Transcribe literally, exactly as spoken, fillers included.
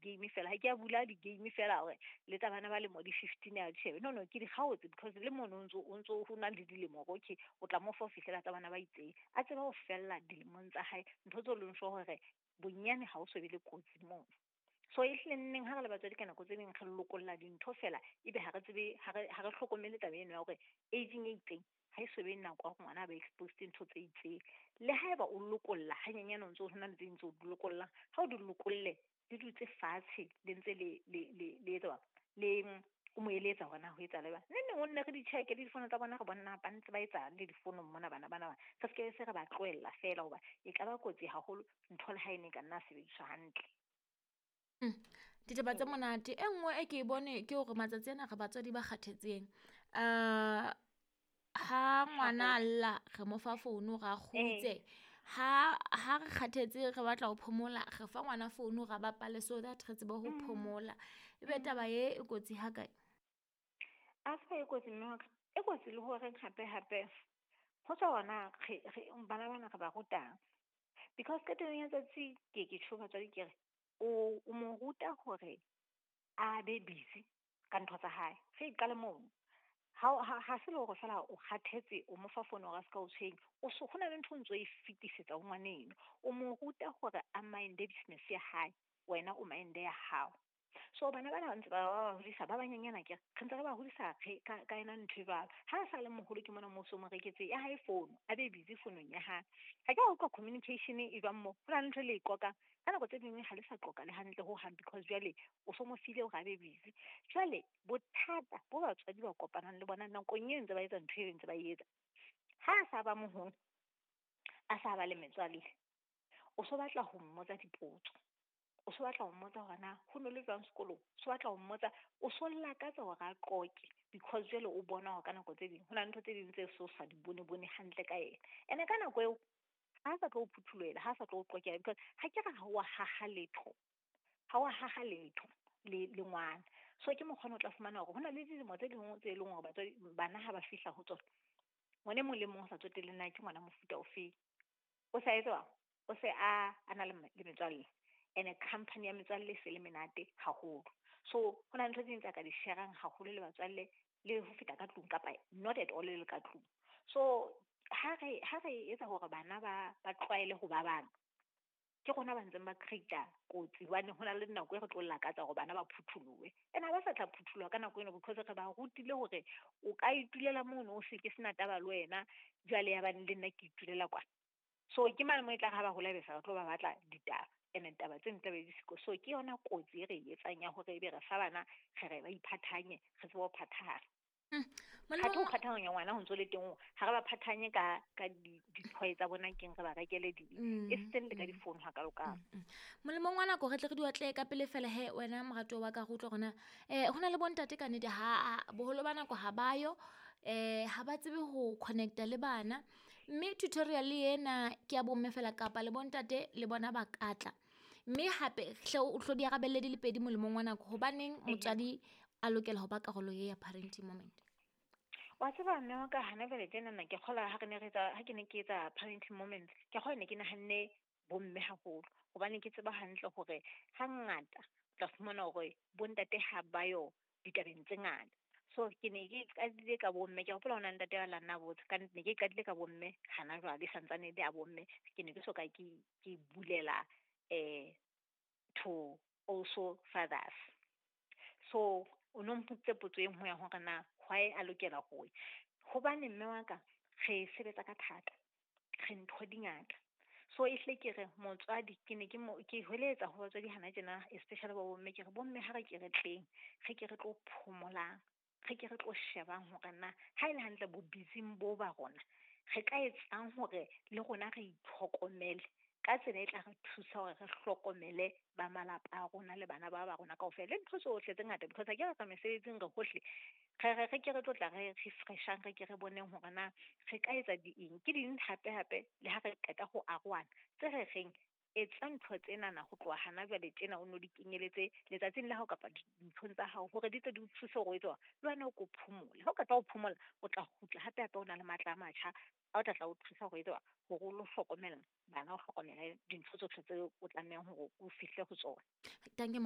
di-game fela, ha ke a bula di-game fela hore le tsa bana ba lemo di fifteen a di shebe. No, no, ke di kgaotse because le mono o ntso o ntso ho na le dilemo hore okay, o tla mo fa ho fihlela tsa bana ba itseng. A tsebe ho fella dilemong tsa hae ntho tseo leng sure hore bonyane ha o so be le kotsi mono. So e hlile nneng ha re le batswadi ka nako tse ding re lokolla dintho fela, ebe ha re tsebe ha re ha re hlokomele taba eno ya hore age-ing e itseng ha e so be nako ya hore ngwana a ba exposed ntho tse itseng. Le haeba o lokolla hanyenyane o ntso ho na le tse ding tseo di lokollang, ha o di lokolle di dutse fatshe le ntse le le le le etsa le o mo eletsa hore na ho etsahala jwang. Neng neng o nne re di check-e le difono tsa bona, re bona ba ntse ba etsang le difonong mona bana bana ba. Re se ke se re ba tlohella fela hoba e ka ba kotsi haholo ntho le ha e ne ka nna sebediswa hantle. Ditaba tse monate e nngwe e ke e bone ke hore matsatsi ana re batswadi ba kgathetseng. Uh, ha ngwana a lla re mo fa founu ra kgutse, ha ha re kgathetse re batla ho phomola re fa ngwana founu ra bapale so that re tsebe ho phomola. Ebe taba e e kotsi ha kae? A se e kotsi mme wa ka, e kotsi le hore hape hape ho tswa hona re re bana bana re ba rutang. Because qetellong ya tsatsi ke ke tjho batswadi ke re o o mo ruta hore a be busy ka ntho tsa hae. Re qale mono. Ha ha ha se le hore fela o kgathetse o mo fa fono hore a ska o tshwenya, o so hona le ntho o ntso e fetisetsa ho ngwaneno. O mo ruta hore a mind-e business ya hae, wena o mind-e ya hao. So bana bana ba ntse ba ba hodisa ba banyenyana akere, re ntse re ba hodisa re ka ka yona ntho e jwalo. Ha a sa le moholo ke mona moo so mo reketse ya hae fono, a be busy fonong ya hae. Ha ke a utlwa communication e jwang moo, ho na le ntho e le e qoqang. Ka nako tse ding ha le sa qoqa le hantle hohang because jwale o so mo file hore a be busy. Jwale bothata bo batswadi ba kopanang le bona nakong e ntse ba etsa ntho e ntse ba e etsa. Ha a sa ba moholo, a sa ba le metswalle, o so batla ho mmotsa dipotso. O so batla ho mmotsa hore na ho no le jwang sekolong, o so batla ho mmotsa, o so lakatsa hore a qoqe because jwale o bona hore ka nako tse ding ho na le ntho tse ding tse so sa di bone bone hantle ka yena. Ene ka nako eo ha sa tlo o phuthulohela, ha sa tlo o qoqela because ha ke re ha wa haha letho, ha wa haha letho le le ngwana. So ke mokgwa o tla fumana hore ho na le dilemo tse ding tse leng hore batswadi bana ha ba fihla ho tsona, ngwana e mong le mong o sa tsotelle na ke ngwana mofuta ofe, o sa etsa o se a a na le le metswalle. Ene company ya metswalle e se le menate haholo. So ho na le ntho tse ding tsa ka di share-ang haholo le batswalle le ho feta ka tlung kapa not at all le ka tlung. So ha re ha re etsa hore bana ba ba tlwaele ho ba bang, ke rona ba ntseng ba create-a kotsi hobane ho na le nako e re tlo lakatsa hore bana ba phutholohe. Ene ha ba sa tla phutholoha ka nako eno because re ba rutile hore o ka itulela mono o se ke sena taba le wena, jwale ya bane le nna ke itulela kwana. So ke mane moo e tla re ha ba hola ebe se re tlo ba batla ditaba. Ene taba tse ntle be di siko. So ke yona kotsi e re e etsang ya hore ebe re fa bana re re ba iphathanye, re tsebe ho phathahana. Ha ke ho phathahanya ngwana ho ntso le teng, ha re ba phathanye ka ka di-toy tsa bona keng re ba rekele di e seng le ka difounu hakalo-kalo. Molemong wa nako re tle re di otle ka pele fela he wena moratuwa wa ka re utlwe hore na eh ho na le bontate ka nnete ha boholo ba nako ha ba yo, eh ha ba tsebe ho connect-a le bana, mme tutorial ena ke ya bomme fela kapa le bontate le bona ba ka tla. Mme hape hle o hlo di arabelle di le pedi molemong wa nako, hobaneng motswadi a lokela ho ba karolo ye ya parenting moment? Wa tseba mme wa ka hana jwale tjenana ke kgolwa ha re ne re etsa, ha ke ne ke etsa parenting moments, ke kgolwa ne ke nahanne bomme haholo hobane ke tseba hantle hore hangata o tla fumana hore bontate ha ba yo ditabeng tse ngata. So ke ne ke qadile ka bomme, ke hopola ho na le ntate wa la nna botsa, ka ne ke qadile ka bomme hana jwale santsane le a bomme, ke ne ke soka ke ke bulela eh to also fathers. So o no mpotse potso e nngwe ya hore na why a lokela ho ya. Hobane mme wa ka re sebetsa ka thata, re ntho di ngata. So e hle ke re motswadi ke ne ke mo ke hweletsa ho batswadi hana tjena especially ba bomme, ke re bomme ha re ke re tleng, re ke re tlo phomolang, re ke re tlo shebang hore na ha e le hantle bo busy-ing bo ba rona re ka etsang hore le rona re itlhokomele ka tsela e tla re thusa hore re hlokomele ba malapa a rona le bana ba ba rona kaofela le ntho tsohle tse ngata. Because ha ke re tsa mesebetsing re hohle, re re re ke re tlo tla re refresh-ang, re ke re boneng hore na re ka etsa di eng. Ke ding hape hape le ha re qeta ho arohana tse re reng etsa ntho tsenana ho tloha hana jwale tjena o no di kenyeletse letsatsing la hao kapa dinthong tsa hao hore di tle di o thuse hore o etse hore le wena o ko phomole. Ha o qeta ho phomola o tla kgutla hape hape o na le matla a matjha a o tla tla o thusa hore etse hore o lo hlokomela bana, o hlokomele dintho tsohle tseo o tlamehang hore o fihle ho tsona. Dankie.